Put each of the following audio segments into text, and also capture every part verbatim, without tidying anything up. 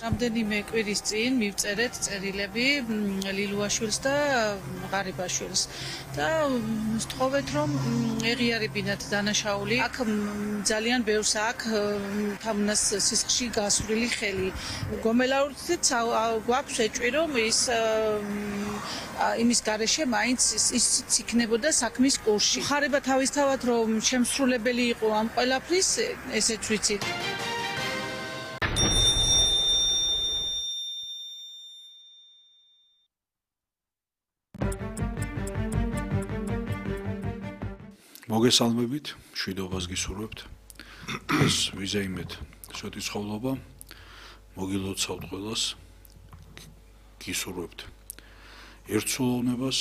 რამდენიმე კვირის წინ მივწერეთ წერილები ლილუაშვილს და ღარიბაშვილს და ვთხოვეთ რომ ეღიარებინათ დანაშაული. აქ ძალიან ბევრს აქ თამნას სისხლში გასვლილი ხელი. გომელაურით გვაქვს ეჭვი რომ ის იმის გარეშე მაინც ის იქნებოდა საქმის კურსში. ხარება თავისთავად რომ შემსრულებელი იყო ამ ყველაფრის, ესეც ვიცით. მოგესალმებით, მშვიდობას გისურვებთ. ეს ვიზეიმეთ სვეტის ხოვლობა. მოგილოცავთ ყველას. გისურვებთ ერთსულოვნებას,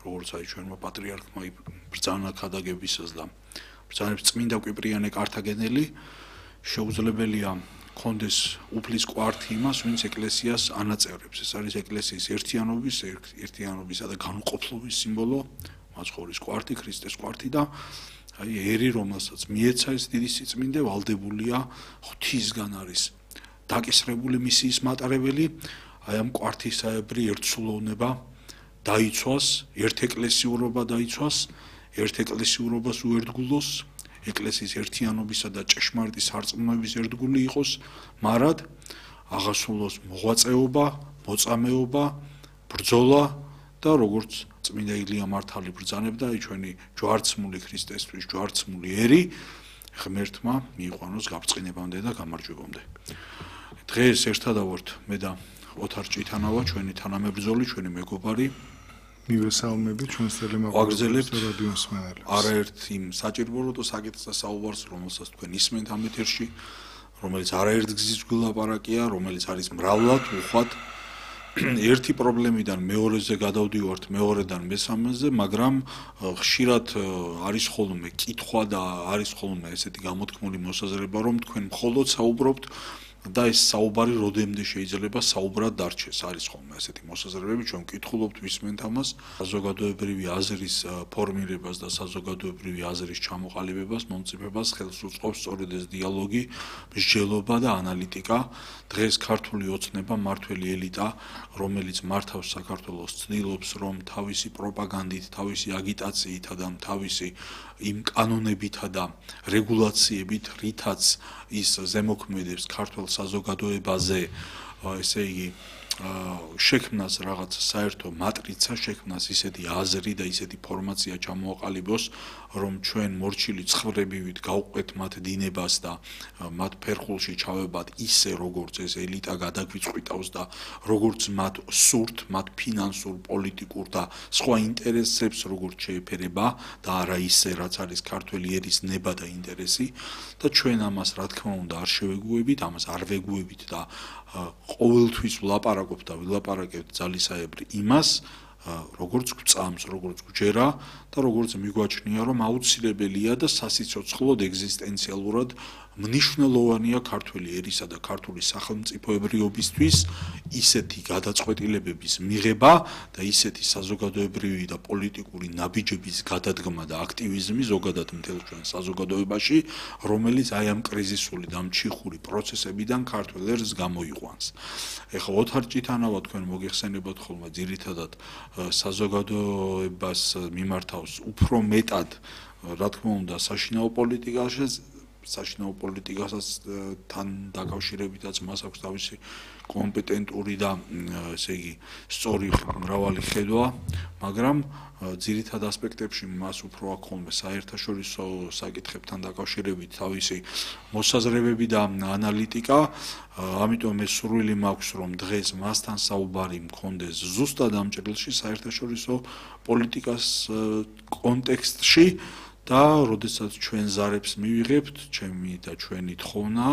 როგორც აი ჩვენმა პატრიარქმა ბრძანა ქადაგებისას და ბრძანებს წმინდა კვიპრიანე კართაგენელი, შეუძლებელია კონდეს უფლის კვართი იმას, ვინც ეკლესიას ანაწევრებს. ეს არის ეკლესიის ერთიანობის, ერთიანობისა და განუყოფლობის სიმბოლო. მაცხოვრის კვართი, ქრისტეს კვართი და აი ერი, რომელსაც მიეცა ეს დიდი სიწმინდე, ვალდებულია ღვთისგან არის დაკისრებული მისიის მატარებელი. აი ამ კვართისაებრი ერთსულოვნება დაიცვას, ერთეკლესიურობა დაიცვას, ერთეკლესიურობას უერთგულოს, ეკლესიის ერთიანობისა და ჭეშმარიტი სარწმუნოების ერთგული იყოს, მარად აღასრულოს მოღვაწეობა, მოწამეობა, ბრძოლა და როგორც წმინდა ილია მართალი ბრძანებდა, აი ჩვენი ჯვარცმული ქრისტესთვის ჯვარცმული ერი ღმერთმა მიიყვანოს გაბრწყინებამდე და გამარჯვებამდე. დღეს ერთადავ ვართ მე და ოთარ ჭითანავა, ჩვენი თანამებრძოლი, ჩვენი მეგობარი. მივესალმებით ჩვენს ვაგრძელებთ რადიო მსმენელებს. არაერთ იმ საჭიროებო საკითხზე საუბარს, რომელსაც თქვენ ისმენთ ამ ეთერში, რომელიც არაერთ გზის გულაპარაკია, რომელიც არის მრავლად უხვად ერთი პრობლემიდან მეორეზე გადავდივართ, მეორედან მესამეზე, მაგრამ ხშირად არის ხოლმე კითხვა და არის ხოლმე ესეთი გამოთქმული მოსაზრება, რომ თქვენ მხოლოდ საუბრობთ და ეს საუბარი როდემდე შეიძლება საუბრად დარჩეს. არის ხოლმე ესეთი მოსაზრებები, ჩვენ ვკითხულობთ, ვისმენთ ამას, საზოგადოებრივი აზრის ფორმირებას და საზოგადოებრივი აზრის ჩამოყალიბებას, მომწიფებას ხელს უწყობს სწორედ ეს დიალოგი, მსჯელობა და ანალიტიკა. დღეს ქართული ოცნება, მართველი ელიტა, რომელიც მართავს საქართველოს, ცდილობს, რომ თავისი პროპაგანდით, თავისი აგიტაციითა და თავისი იმ კანონებითა და რეგულაციებით, რითაც ის ზემოქმედებს ქართულ საზოგადოებაზე, ესე იგი, შექმნას რაღაც საერთო მატრიცა, შექმნას ისეთი აზრი და ისეთი ფორმაცია ჩამოაყალიბოს, რომ ჩვენ მორჩილი ცხრებივით გავყვეთ მათ დინებას და მათ ფერხულში ჩავებად ისე, როგორც ეს ელიტა გადაგვიწყვიტავს და როგორც მათ სურთ, მათ ფინანსურ, პოლიტიკურ და სხვა ინტერესებს როგორც შეეფერება და არა ისე, რაც არის ქართველი ერის ნება და ინტერესი და ჩვენ ამას რა თქმა უნდა არ შევეგუებით, ამას არ ვეგუებით და ყოველთვის ვლაპარაკობთ და ვილაპარაკებთ ძალისაებრი იმას, როგორც გვწამს, როგორც გვჯერა და როგორც მიგვაჩნია, რომ აუცილებელია და სასიცოცხლოდ ეგზისტენციალურად მნიშვნელოვანია ქართველი ერისა და ქართული სახელმწიფოებრიობისთვის ისეთი გადაწყვეტილებების მიღება და ისეთი საზოგადოებრივი და პოლიტიკური ნაბიჯების გადადგმა და აქტივიზმი ზოგადად მთელ ჩვენ საზოგადოებაში, რომელიც აი ამ კრიზისული და მჩიხური პროცესებიდან ქართულ ერს გამოიყვანს. ეხლა ოთარ ჭითანავა თქვენ მოგეხსენებათ ხოლმე ძირითადად საზოგადოებას მიმართავს უფრო მეტად, რა თქმა უნდა, საშინაო პოლიტიკაში, საშინაო პოლიტიკასაც თან დაკავშირებითაც მას აქვს თავისი კომპეტენტური და ესე იგი სწორი მრავალი ხედვა, მაგრამ ძირითად ასპექტებში მას უფრო აქვს ხოლმე საერთაშორისო საკითხებთან დაკავშირებით თავისი მოსაზრებები და ანალიტიკა. ამიტომ ეს სურვილი მაქვს, რომ დღეს მასთან საუბარი მქონდეს ზუსტად ამ ჭრილში საერთაშორისო პოლიტიკას კონტექსტში. და როდესაც ჩვენ ზარებს მივიღებთ, ჩემი და ჩვენი თხოვნა,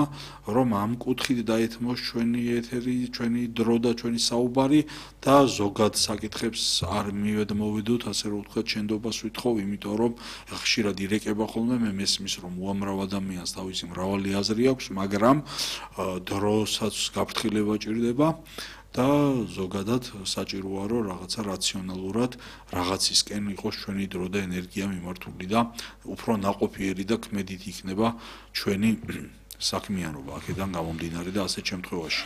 რომ ამ კუთხით დაეთმოს ჩვენი ეთერი, ჩვენი დრო და ჩვენი საუბარი და ზოგად საკითხებს არ მივედმოვიდოთ, ასე რომ ვთქვათ, შენდობას ვითხოვ, იმიტომ რომ ხშირად ირეკება ხოლმე მე მესმის, რომ უამრავ ადამიანს თავისი მრავალი აზრი აქვს, მაგრამ დროსაც გაფრთხილება ჭირდება. და ზოგადად საჭიროა რომ რაღაცა რაციონალურად რაღაცისკენ იყოს ჩვენი დრო და ენერგია მიმართული და უფრო ნაყოფიერი და ქმედით იქნება ჩვენი საქმიანობა აქედან გამომდინარე და ასეთ შემთხვევაში